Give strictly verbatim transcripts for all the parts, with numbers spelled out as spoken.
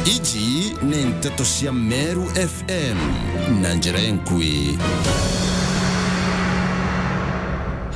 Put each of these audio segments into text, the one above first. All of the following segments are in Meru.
Iji ni nteto cia Meru F M na njira enkui.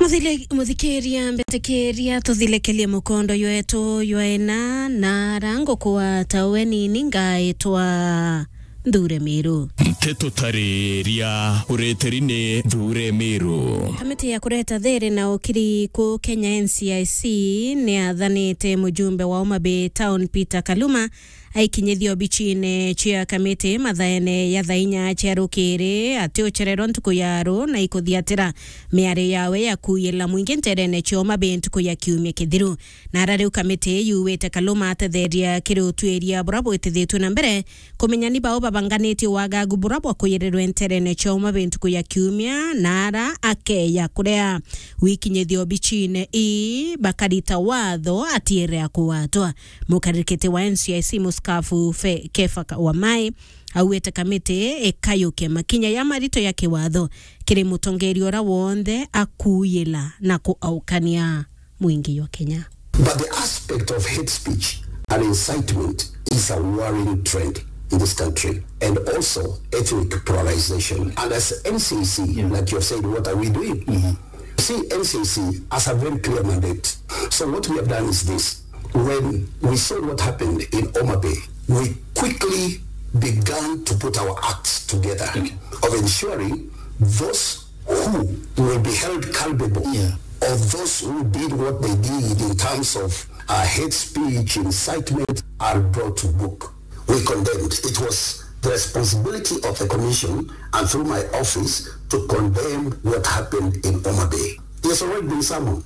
Muthile-, muthikiria, mbetikiria tuthilekelie mukondo jwetu jwa ina na ara ngukwa tawe nini ngaitwa Nthure Miru. Nteto tariria ureteri ni Nthure Miru. Kamiti ya kureta thiri na ukiri ku Kenya N C I C ni athanite mujumbe wa Homa Bay Town Peter Kaluma aikinyithia obichine cia kamiti mathaene ya thaa inya cia rukiri ati uchererwa ntuku ya ru na ikuthiatira miari yawe ya kuuyila mwingi nterene cia Homa Bay ntuku ya kiumia kithiru. Na ara riu kamiti yuwite Kaluma atetheria kiri utuiria bura bwitithitue na mbere, kumenya ni bau babanganitie wagagu bura bwa kuyirirwe nterene cia Homa Bay ntuku ya kiumia, na ara akeya kuria wikinyithia obichine ii bakarita watho atiere akugwatwa. Mukarikiti wa N C I C muskafu Fe-, Kefa Ka-, Wamai augite kamiti ikayuke makinya ya marito ya kiwatho kiri mutongeria uria wonthe akuuyila na kuaukania mwingi jwa Kenya. But the aspect of hate speech and incitement is a worrying trend in this country and also ethnic polarization. And as N C I C, yeah, like you have said, what are we doing? Mm-hmm. See, N C I C has a very clear mandate. So what we have done is this. When we saw what happened in Homa Bay, we quickly began to put our acts together, okay, of ensuring those who will be held culpable, yeah, of those who did what they did in terms of, uh, hate speech, incitement, are brought to book. We condemned. It was the responsibility of the commission and through my office to condemn what happened in Homa Bay. He has already been summoned.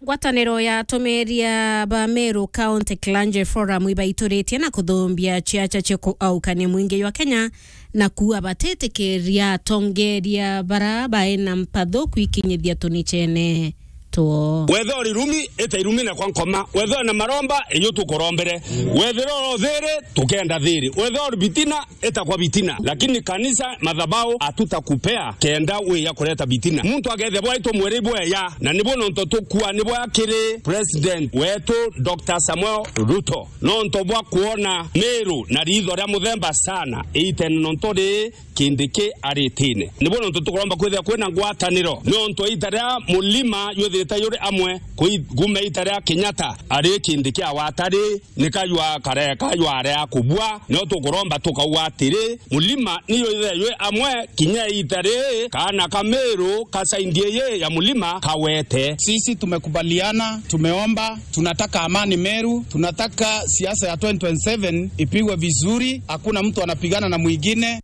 Ngwataniro ya atumiria ba Meru County Clergy Forum ibaituritie na kuthumbia ciaca cia kuaukania mwingi jwa Kenya na kuuga batitikiria atongeria bara baina mpatho kwikinyithia tunichene two. Wethira uri irumi, ita irumi na kwa nkoma. Wethira na maromba, iyo tukurombere. Wethira uri thiri, tukenda thiri. Wethira uri bitina, ita kwa bitina, lakini kanisa, madhabahu, hatutakupea kenda wiya kureta bitina. Muntu akethia bwaitwa mweri bweya, na nibo nonto tukua nibo akiri President wetu Doctor Samuel Ruto, nonto bwa kuona Meru na ritho ria muthemba sana iitene nonto ri Kindiki aritine. Nibo nonto tukuromba kwithia kwina ngwataniro, nonto iita ria mulima jwithirite juri amwe kui-, kuma iita ria Kenyatta ari Kindiki awatari, ni kajwa kare, kajwa area kubua, nio tukuromba tukauga atiri, mulima niyo ithe jwi amwe, kinya iita ri, kaana ka Meru ka saindi iyi ya mulima kawete. Sisi tumekubaliana, tumeomba, tunataka amani Meru, tunataka siasa ya twenty twenty-seven ipigwe vizuri, hakuna mtu anapigana na mwingine.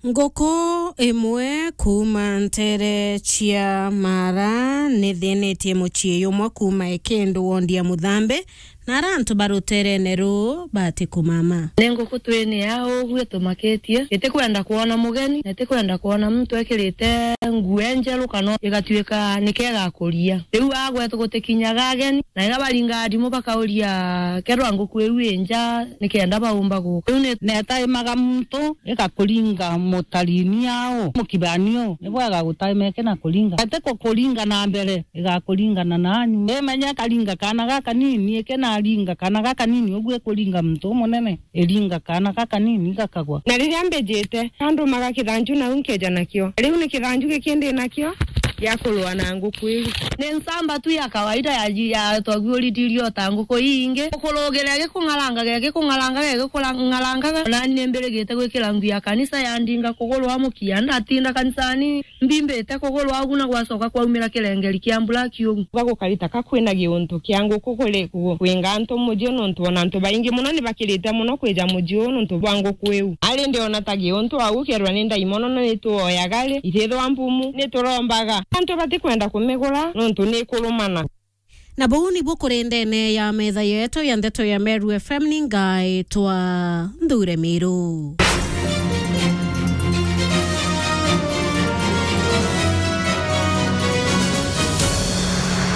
Nguku imwe kuuma nteere cia Mara nithinitie mucii jumwe kuuma Ekindu wondi ya Muthambi, na ara antu ba ruteerene ruu batikumama. Ni nguku twini ya uguo itumakitie, itikwenda kwona mugeni, na itikwenda kwona muntu ekirite nguo njeru kana igatuika nikega kuria. Riu agwetu gutikinyaga ageni, na iria baringaga ndimu bakauria, "Kethirwa nguku iu i nja, nikenda baumba guka?" Riu ni- Netaimaga muntu, igakuringa mutarini au, mukibani u, ni bwega gutaima iki na kuringa. Ati kukuringa na mbere, igakuringana nanyu. Imenya ikaringa kaana gakanini, iki naringa kaana gakanini, uguo ikuringa muntu umunene, iringa kaana gakanini gakagwa. Na riria mbijite, andumaga kithanju nau nkeja nakio. Riu ni kithanju giki ndi nakio gia kurua na nguku iu. Ni nsamba tu ya kawaida ya, ya twaguuritirio ta nguku ii ingi. Gukurugiria gikung'aranga, gikung'aranga, gikung'arangaga. Nani ni mbirigite gwikira nguo ya kanisa yandinga kugurwa mukia. Ndatinda kanisani, mbimbite kugurwa ugu na gwacoka kwaumira kirengeri kia mbura kiugu. Gagukari ta ka kwina giuntu kia nguku kuri ku-, kwinga antu muji nontu ona antu baingi mono ni bakirite mono kwija muji uu nontu bwa nguku iu. Ari ndiona ta giuntu au kerwa ni ndaimono no ituoyaga ri, itithwa mpumu, ni turombaga. Antu batikwenda kumigura nontu ni ikurumana. Na buu nibu kuri ndene ya metha yetu ya ndeto ya Meru F M, ni ngaitwa Nthure Miru.